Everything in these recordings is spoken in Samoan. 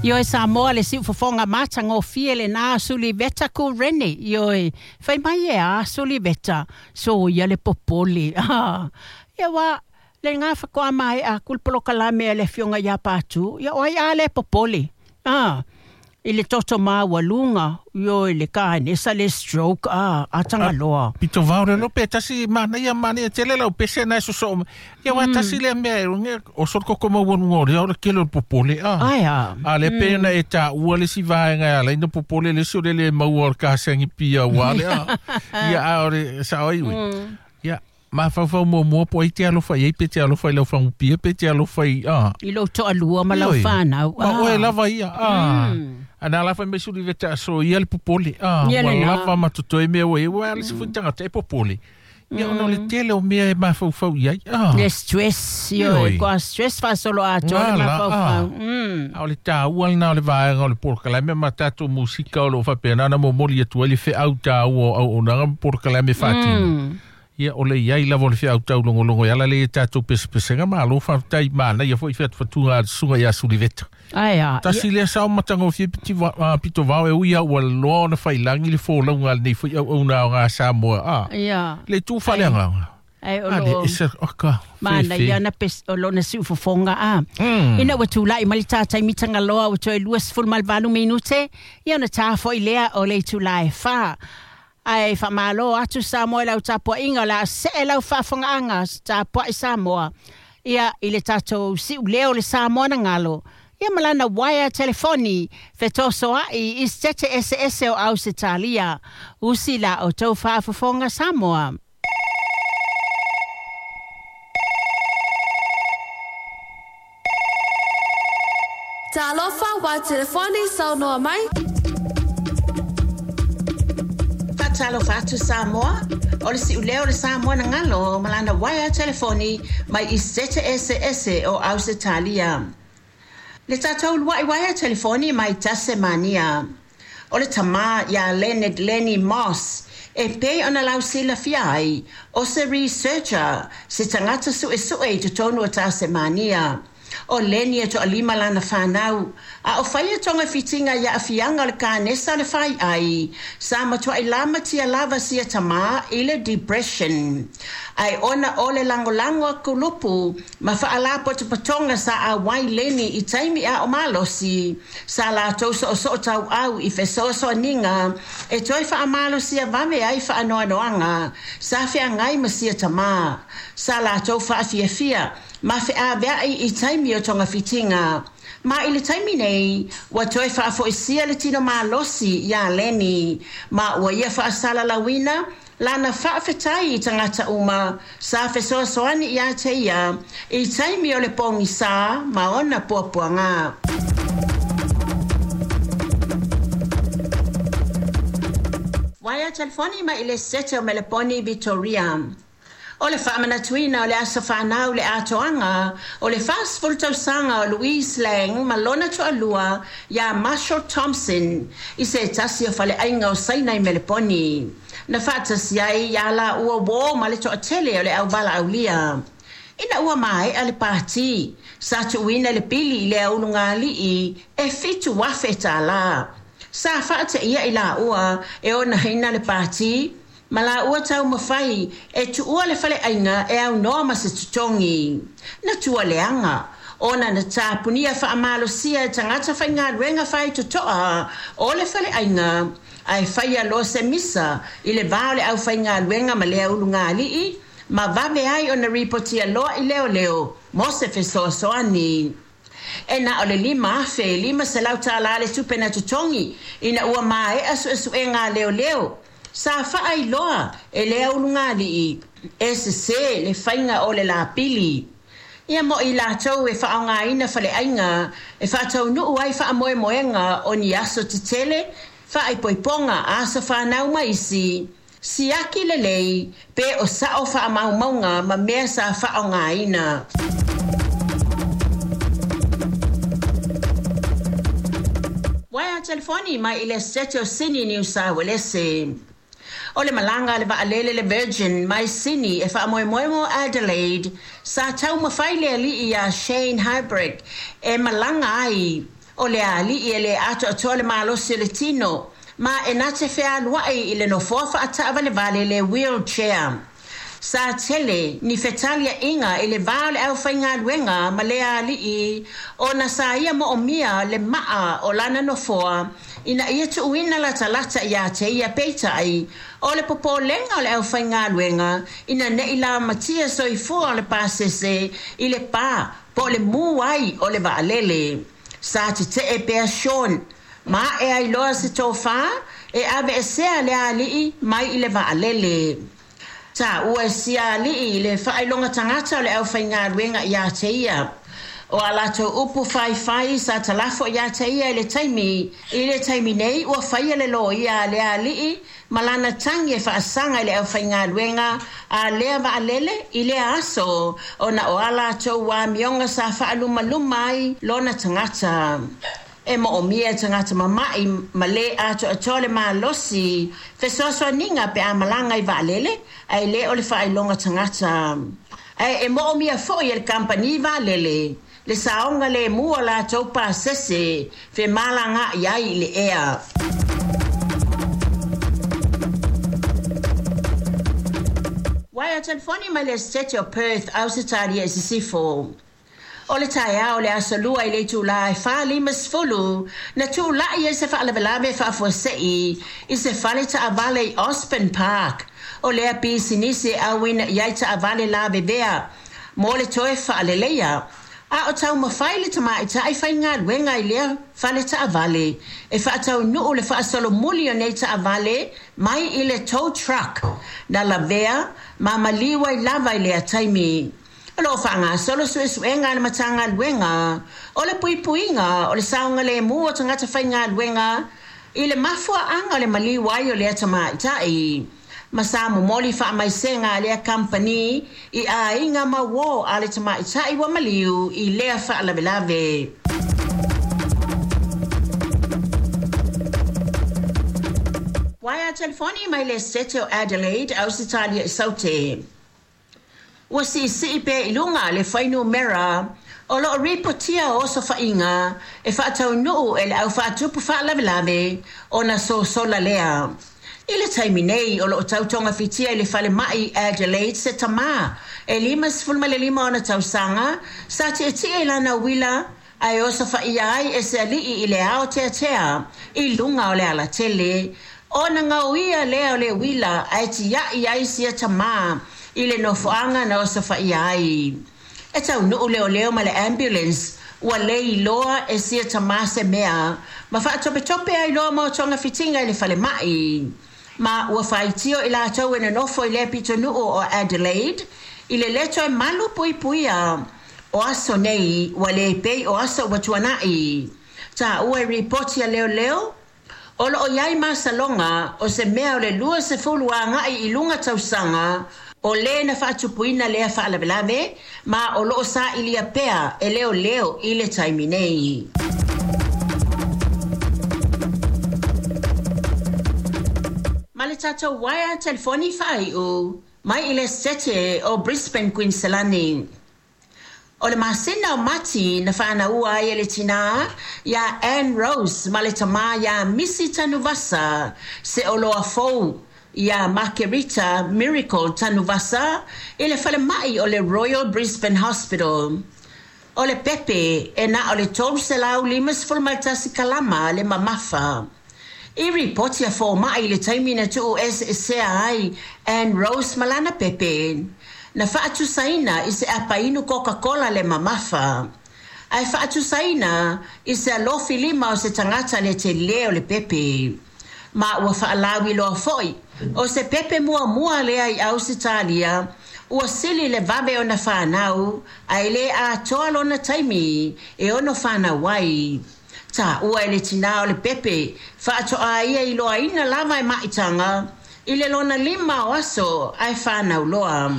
Ioe Samoa le siufofoga matagofie lenā Suliveta Kureni. Ioe, fai mai e a Suliveta, soia le popole. Ah, ia ua le ngā whakoa mai a ku le polokalame a le afioga ia Patu, ia o ai a le popole. Ah, i le toto maualuga, ioe le kanesa le stroke, ah, a Tagaloa. Pito vao le lope tasi manaia manaia tele lau pese na soso ia wa tasi le mea e nge o so koko maualuga o le o le kele o le popole a. Ai a. A le pe na e ta ua le si vaenga ala ina popole le si o le le maua o le kasangi pia ua le a. Ia a o le sa oi ui. Ia mafaufau muamua po ai te alofa i ai pe te alofa i lau fagupia pe te alofa i a. I lou toalua ma lau fanau. Ma oe lava ia a. Ana la fai mai suli veta so ia le popole a. Ia Ua lena. lava ma totoe mea ua i ua le se foi tagata e popole. Ia ona o le tele o mea e mafaufau i ai a. Le stress, ioe, Ioe. kua stress faasolo atoa le Ngā la, mafaufau. A o le tāua lena o le vaega o le polokalame ma tatou musika o loo faapena ona momoli atu ai le feau tāua o auaunaga ma polokalame faatino. Ia o le iai lava o le feau taulogologo e ala lea i tatou pesepesega malo faafetai manaia foi featufatuga a le susuga iā Suliveta. Ai a. Tasi lea sao matagofie piti pito vao e ui a ua loa ona failagi le folauga a lenei foi auauna aoga Samoa a. Ia. Le itu faaleagaga. Ai o A le loo ese oka mana fefe. ia na pes o lona siufofoga a. Ina ua tulai mai le tātai mitaga loa ua toe 28 minute, ia ona tā foi lea o le itula e 4. Ae faamālō atu Samoa i lau tapuaiga o le a see lau faafogaaga tapuai Samoa. Ia i le tatou siuleo le Samoa na galo. Ia ma lana waea telefoni fetosoa'i i setete eseese o Ausetalia. Usi la o tou faafofoga Samoa. Talofa wa telefoni saunoa mai. Faatalofa atu Samoa, o le siuleo o le Samoa na galo ma lana waea telefoni mai i setete eseese o Ausetalia. Le tatou lua'i waea telefoni mai Tasemania. O le tamā iā Leonard Lenny Moss, e pei ona lausilafia ai, o se researcher, se tagata suesue i totonu o Tasemania. O Lenny e toalima lana fanau, a o faia togafitiga i aafiaga o le kanesa o le faiai, sa matuai lamatia lava sia tamā i le depression. Ae ona o le lagolago a kulupu ma faalapotopotoga sa auai Lenny i taimi a o malosi, sa latou soosoo tauau i fesoasoaniga e toe faamalosia vave ai faanoanoaga sa feagai ma sia tamā. Sa latou faafiafia ma feaveai i taimi o togafitiga. Ma i le taimi nei, ua toe faafoisia le tino malosi iā Lenny, ma ua ia faasalalauina lana faafetai i tagata uma sa fesoasoani iā te ia i taimi o le pogisā ma ona puapuaga. Waea telefoni mai i le sete o Meleponi Victoria. O le faamanatuina o le aso fanau le atoaga o le 40 tausaga o Louise Lang ma lona toalua iā Marshall Thompson i se tasi o faleaiga o Saina i Meleponi. Na faatasi ai iā laua uō ma le toatele o le auvalaaulia. Ina ua maea le pātī, sa tuuina le pili i le aulugalii e 7,000 tālā. Sa faateia i laua e onaina le pātī, ma laua taumafai e tuua le faleaiga e aunoa ma se totogi. Na tualeaga, ona na tapunia faamalosia e tagata faigaluega faitotoa o le faleaiga, ae faia loa se misa i le va o le aufaigaluega ma le aulugalii, ma vave ai ona ripotia loa i leoleo mo se fesoasoani. E na o le 5,500 tālā le tupe na totogi ina ua maea suesuega a leoleo. Sa faailoa e le aulugalii e sesē le faiga o le lapili. Ia mo i latou e faaaogaina faleaiga e faataunuu ai faamoemoega o ni aso tetele, faaipoipoga, aso fanau ma isi, siaki lelei pe o sao faamaumauga ma mea sa faaaogaina. Waea telefoni mai i le sete o Sini Niu Sauelese. O le malaga a le vaalele le Virgin mai Sini e faamoemoe mo Adelaide, sa taumafai le alii iā Shane Hybrick e malaga ai. O le ali'i e lē atoatoa le malosi o le tino, ma e na te fealua'i i le nofoa fa'ata'avalevale le wheelchair. Sa tele ni fetalia'iga i le va o le aufaigaluega ma lea ali'i ona sa ia mo'omia le ma'a o lana nofoa ina ia tu'uina latalata iā te ia. Peita'i, o le popolega o le aufaigaluega ina ne'i lamatia soifua o le pasese i le pā po o le mū ai o le va'alele. Sa tete'e pea Sean ma a'e ai loa se tofā e ave'esea lea ali'i mai i le va'alele. Tāua e sia ali'i le fa'ailoga tagata o le aufaigaluega iā te ia. O a latou upu faifai sa talafo iā te ia i le taimi. I le taimi nei ua faia le loia a lea ali'i ma lana tagi e fa'asaga i le aufaigaluega a lea va'alele i lea aso ona o a latou amioga sa fa'alumaluma ai lona tagata. E mo'omia e tagata mama'i ma lē atoatoa le malosi fesoasoaniga pe a malaga i va'alele ae lē o le fa'ailoga tagata. Ae e mo'omia fo'i e le kampani va'alele le saoga lemu o latou pasese femalaga'i ai i le ea. Uaea telefoni mai le Esetete o Perth, Ausetalia i Sisifo. O le taeao o le aso Lua i le itulā e 4:50 na tula'i ai se fa'alavelave fa'afuase'i i se fale ta'avale i Osborne Park. O lea pisinisi e auina i ai ta'avale lavevea mo le toe fa'aleleia. A o taumafai le tama'ita'i faigaluega i lea fale ta'avale e fa'ataunu'u le fa'asolomuli o nei ta'avale mai i le tow truck na lavea ma maliu ai lava i lea taimi. O lo'o fa'agasolo su'esu'ega a le Matagaluega o le Puipuiga o le Saogalēmū o Tagata Faigaluega i le mafua'aga o le maliu ai o lea tama'ita'i. Ma sa momoli fa'amaisega a lea kampani i aiga ma uō a le tama'ita'i ua maliu i lea fa'alavelave. Uaea telefoni mai le Esetete o Adelaide, Ausetalia i Saute. Ua si'isi'i pea i luga le fuainumera o lo'o ripotia o osofa'iga e fa'ataunu'u e le au fa'atupu fa'alavelave ona sosola lea. I le taimi nei o lo'o tau togafitia i le falema'i Adelaide se tamā e 55 ona tausaga sa ti'eti'e i lana uila ae osofa'ia ai e se ali'i i le aoteatea i luga o le alatele ona gaoia lea o le uila ae tia'i ai sia tamā i le nofoaga na osofa'ia ai. E taunu'u leoleo ma le ambulance ua lē iloa e sia tamā se mea ma fa'atopetope ai loa mo togafitiga i le falema'i. Ma ua faitio i latou e nonofo i lea pitonu'u o Adelaide i le lē toe malu puipuia o aso nei ua lē pei o aso ua tuana'i. Tāua i ripoti a leoleo o lo'o i ai masaloga o se mea o le 20 aga'i i luga tausaga o lē na fa'atupuina lea fa'alavelave ma o lo'o sa'ilia pea e leoleo i le taimi nei. Ma le tatou uaea telefoni fa'ai'u mai i le Esetete o Brisbane, Kuiniselani. O le masina o Mati na fa'anaua ai e le tinā iā Ann Rose ma le tamā iā Misi Tanuvasa se oloa fou iā Makerita Miracle Tanuvasa i le falema'i o le Royal Brisbane Hospital. O le pepe e na o le 351 kalama le mamafa. I ripoti a foma'i i le taimi na tu'u eseesea ai Ann Rose ma lana pepe na fa'atusaina i se apainu Coca-Cola le mamafa. Ae fa'atusaina i se alofi lima o se tagata le telē o le pepe. Ma ua fa'alauiloa fo'i o se pepe muamua lea i Ausetalia ua sili le vave ona fanau ae lē atoa lona taimi e ono fanau ai. Tāua e le tinā o le pepe fa'ato'a ia iloaina lava e ma'itaga i le lona 5 o aso ae fanau loa.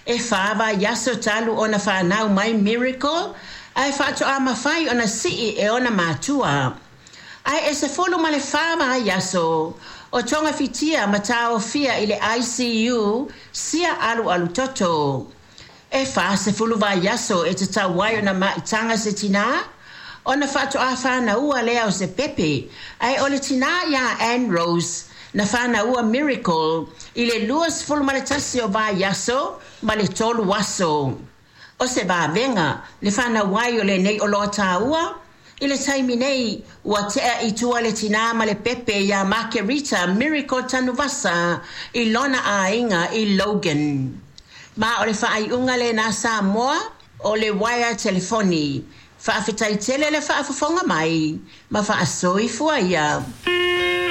E 4 vaiaso talu ona fanau mai Miracle ae fa'ato'a mafai ona si'i e ona matua. Ae e 14 vaiaso o togafitia ma taofia i le ICU sia alualu toto. E 40 vaiaso e tatau ai ona ma'itaga se tinā Ona faatoā fanaua lea o se pepe, ae o le tinā iā Ann Rose, na fanaua Miracle i le 21 o vaiaso ma le 3 aso. O se vavega le fanau ai o lenei oloa tāua, i le taimi nei ua tea i tua le tinā ma le pepe iā Makerita Miracle Tanuvasa i lona aiga i Logan. Ma o le faaiuga lenā Samoa o le uaea telefoni. Faafetai tele le faafofoga mai ma faasoifua ia.